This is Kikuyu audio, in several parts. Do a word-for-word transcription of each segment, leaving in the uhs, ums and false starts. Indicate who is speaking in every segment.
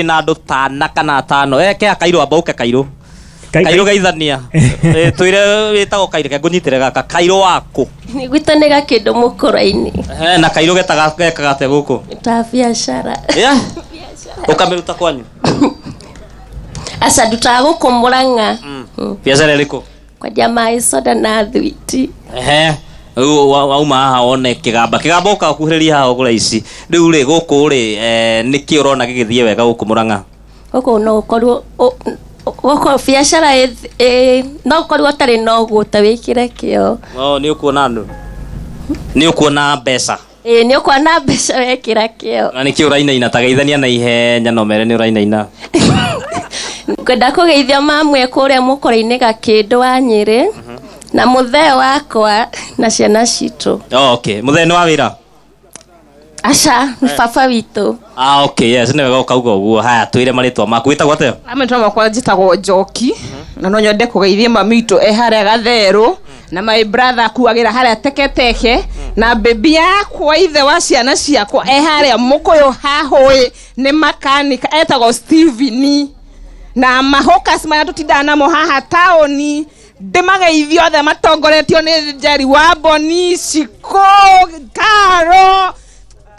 Speaker 1: Na andũ tana kana atano eke akairũ amba ũke kairũ kairũ geithania twĩre wĩtagwo kairũ ke ngũnyitĩre gaka kairũ waku
Speaker 2: nĩ gwitũ nĩ gakĩndũ mũkũra-inĩ.
Speaker 1: Eh, na kairũ getaga gekaga atĩa gũkũ?
Speaker 2: Ta biacara.
Speaker 1: Yeah, ũkamĩruta kwanyu?
Speaker 2: Aca, ndutaga gũkũ Mũrang'a.
Speaker 1: Biacara ĩrĩkũ?
Speaker 2: Kwendia maĩ, soda na thwiti.
Speaker 1: Ehe, rĩu wauma haha wone kĩgamba kĩgamba ũka ũkuhĩrĩria haha ũgũre ici rĩu rĩ gũkũ rĩ, nĩkĩ ũrona gĩgĩthiĩ wega gũkũ Mũrang'a?
Speaker 2: Gũkũ no ũkorwo gũkũ biacara no ũkorwo ũtarĩ na ũguo ta wĩkĩre kĩo.
Speaker 1: Oh, nĩ ũkuona andũ, nĩ ũkuona mbeca.
Speaker 2: Ĩĩ, nĩ ũkuona mbeca wekĩra kĩo.
Speaker 1: Na nĩkĩ ũrainaina? Ta geithania na ihenya no mere nĩ ũrainaina.
Speaker 2: Ngwenda kũgeithia mamwe kũrĩa mũkũra-inĩ Gakĩndũ wa Nyĩrĩ na mũthee wakwa na ciana citũ.
Speaker 1: Oh, okay, mũthee nĩ wa wĩra?
Speaker 2: Aca, nĩ baba witũ.
Speaker 1: Ah, okay, yes, nĩ wega ũkauga ũguo. Haya, twĩre marĩtwa maku, wĩtagwo atĩa?
Speaker 3: Marĩtwa makwa njĩtagwo Njoki na no nyende kũgeithia mami witũ e harĩa Gatherũ na my brother akuagĩra harĩa Teketeke na baby yakwa, ithe wa ciana ciakwa, e harĩa Mũkũyũ hahũĩ, nĩ makanika, etagwo Steven, na mahokas marĩa tũtindaga namo haha taũni ndĩmageithie othe matongoretio nĩ Njeri wa Mboni, Shiko, Karo,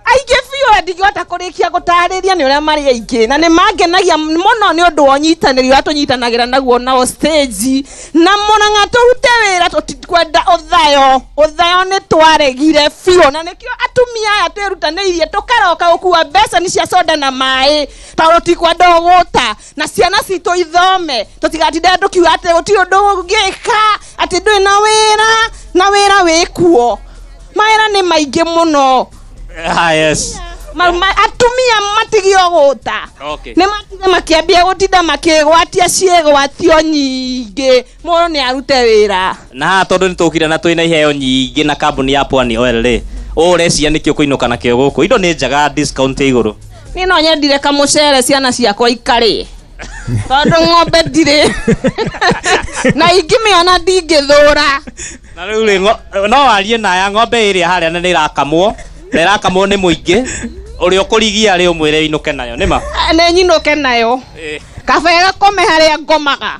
Speaker 3: aingĩ biũ ndingĩhota kũrĩkia gũtarĩria nĩ ũrĩa marĩ aingĩ na nĩ mangenagia mũno nĩ ũndũ wa ũnyitanĩri ũrĩa tũnyitanagĩra naguo nao stage na Mũrang'a tũrute wĩra. Tũtikwenda ũthayo, ũthayo nĩ twaregire biũ na nĩkĩo atumia aya twĩrutanĩirie tũkaroka gũkua mbeca cia soda na maĩ tondũ tikwenda ũgũta na ciana citũ ithome, tũtigatinde tũkiuga atĩ gũtirĩ ũndũ ũngĩka, atĩ ndũrĩ na wĩra, na wĩra wĩkuo, mawĩra nĩ maingĩ mũno.
Speaker 1: Ah, yes.
Speaker 3: Ma, ma, atumia matigio gũta.
Speaker 1: Okay.
Speaker 3: Nĩ matige makĩambia gũtinda makĩgwatia ciĩgwatio nyingĩ, mũndũ nĩ arute wĩra.
Speaker 1: Na haha tondũ nĩ tũkire na twĩna iheo nyingĩ na kambuni ya Pwani Oil rĩ, ũũ ũreciria nĩkĩ ũkũinũka nakĩo gũkũ? Indo nĩ njega, discount ĩ igũrũ.
Speaker 3: Niĩ no nyendire kamũcere ciana ciakwa ikarĩe tondũ ng'ombe ndirĩ na ingĩmĩona ndingĩthũra.
Speaker 1: Na rĩu rĩ, no warie naya ng'ombe ĩrĩa harĩa na nĩ ĩrakamwo na ĩrakamwo nĩ mũingĩ ũrĩa ũkũrigia rĩ, ũmwĩre inũke nayo nĩma?
Speaker 3: Nĩ nyinũke nayo, kaba ĩgakome harĩa ngomaga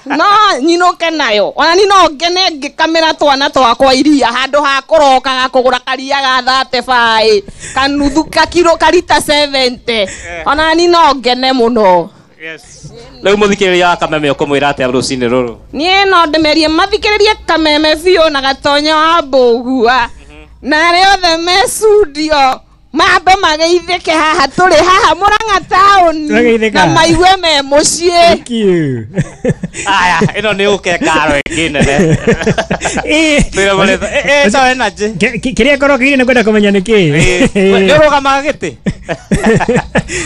Speaker 3: no nyinũke nayo. Ona ni no ngene ngĩkamĩra twana twakwa iria handũ ha kũrokaga kũgũra karia ga thate baĩ kanuthu kakiro karita seventy, ona ni no ngene mũno.
Speaker 1: Rĩu mũthikĩrĩria wa Kameme ũkũmwĩra atĩa rũcinĩ rũrũ?
Speaker 3: Niĩ no ndĩmerie mathikĩrĩrie Kameme biũ na Gatonya wa Mbũgua na arĩa othe me studio mambe mageithĩke haha tũrĩ haha Mũrang'a taũni
Speaker 4: Mageithĩka.
Speaker 3: Na maigue me mũciĩ.
Speaker 4: Thank you.
Speaker 1: Aya, ĩno nĩ ũke karo ĩngĩ nene.
Speaker 4: Eh,
Speaker 1: Twĩre marĩtwa ĩ ĩ energy.
Speaker 4: Kĩ- kĩ- kĩrĩa ngorwo kĩire nĩ kwenda kũmenya nĩ kĩ.
Speaker 1: Nĩ ũrũgamaga gĩtĩ.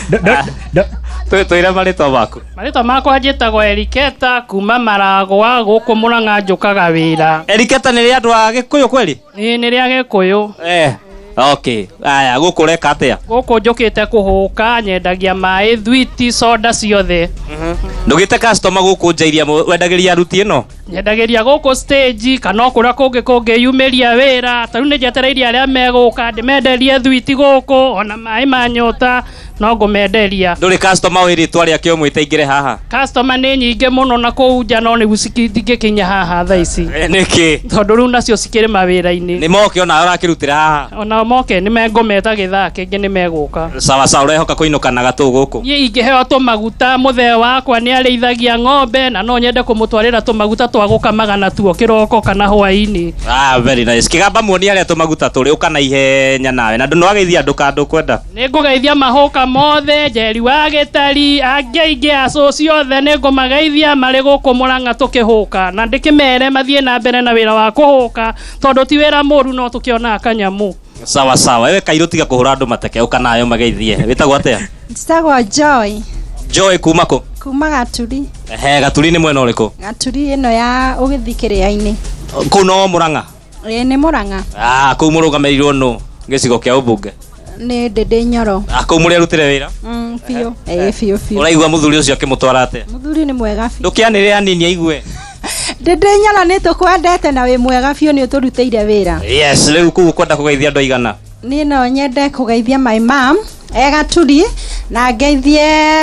Speaker 4: Do- do- do-
Speaker 1: Twĩ- twĩre marĩtwa maku.
Speaker 5: Marĩtwa makwa njĩtagwo Eriketa kuma Maragwa gũkũ Mũrang'a njũkaga wĩra.
Speaker 1: Eriketa nĩ rĩa andũ a Gĩkũyũ kweli?
Speaker 5: Ĩĩ, nĩ rĩa Gĩkũyũ.
Speaker 1: Eh, okay, aya, gũkũ ũreka atĩa?
Speaker 5: Gũkũ njũkĩte kũhũka, nyendagia maĩ, thwiti, soda ciothe.
Speaker 1: Ndũgĩte customer gũkũ nja iria wendagĩria aruti ĩno?
Speaker 5: Nyendagĩria gũkũ stage kana o kũrĩa kũngĩ kũngĩyumĩria wĩra. Ta rĩu nĩ njetereire arĩa megũka ndĩmenderie thwiti gũkũ ona maĩ ma nyota no ngũmenderia.
Speaker 1: Ndũrĩ customer wĩ rĩtwa rĩake ũmwĩte aingĩre haha?
Speaker 5: Customer nĩ nyingĩ mũno na kũu nja no nĩguo cingĩkinya haha thaa ici.
Speaker 1: Eh, nĩkĩ?
Speaker 5: Tondũ rĩu nacio cikĩrĩ mawĩra-inĩ.
Speaker 1: Nĩ moke ona ũrakĩrutĩra haha?
Speaker 5: Ona moke nĩ mengũmeta gĩthaa kĩngĩ nĩ megũka.
Speaker 1: Sawa sawa, ũrehoka kũinũka na gatũ gũkũ?
Speaker 5: Niĩ ingĩheo tũmaguta, mũthee wakwa nĩ arĩithagia ng'ombe na no nyende kũmũtwarĩra tũmaguta twa gũkamaga natuo kĩroko kana hwaĩ-inĩ.
Speaker 1: Ah, very nice. Kĩgamba muoni harĩa tũmaguta tũrĩ, ũka na ihenya nawe na ndũ nĩwageithia andũ ka ndũkwenda.
Speaker 5: Nĩ ngũgeithia mahũka mothe, Njeri wa Gĩtari, angĩ aingĩ a cũci othe nĩ ngũmageithia marĩ gũkũ Mũrang'a tũkĩhũka na ndĩkĩmere mathiĩ na mbere na wĩra wa kũhũka tondũ ti wĩra mũru no tũkĩonaga kanyamũ.
Speaker 1: Sawa sawa, wewe kairũ tiga kũhũra andũ mateke, ũka nayo mageithie. Wĩtagwo atĩa?
Speaker 6: Njĩtagwo Joy.
Speaker 1: Joy kuma kũ?
Speaker 6: Kuma Gaturi.
Speaker 1: Ehe, Gaturi nĩ mwena ũrĩkũ?
Speaker 6: Gaturi ĩno ya ũgĩthiĩ kĩrĩa-inĩ.
Speaker 1: Kũu no Mũrang'a?
Speaker 6: Ĩĩ, nĩ Mũrang'a.
Speaker 1: Ah, kũu mũrũgamĩrĩirwo nũ gĩcigo kĩa ũmbunge?
Speaker 6: Nĩ Ndĩndĩ Nyoro.
Speaker 1: Ah, kũu mũrĩ arutĩre wĩra?
Speaker 6: Mm, biũ. Ĩĩ, biũ biũ.
Speaker 1: Ũraigua mũthuri ũcio akĩmũtwara atĩa?
Speaker 6: Mũthuri nĩ mwega biũ.
Speaker 1: Ndũkĩanĩrĩre anini aigue.
Speaker 6: Ndĩndĩ Nyoro, nĩ tũkwendete na wĩ mwega biũ, nĩ ũtũrutĩire wĩra.
Speaker 1: Yes, rĩu kũu ũkwenda kũgeithia andũ aigana?
Speaker 6: Niĩ no nyende kũgeithia my mom E Gaturi, na ngeithie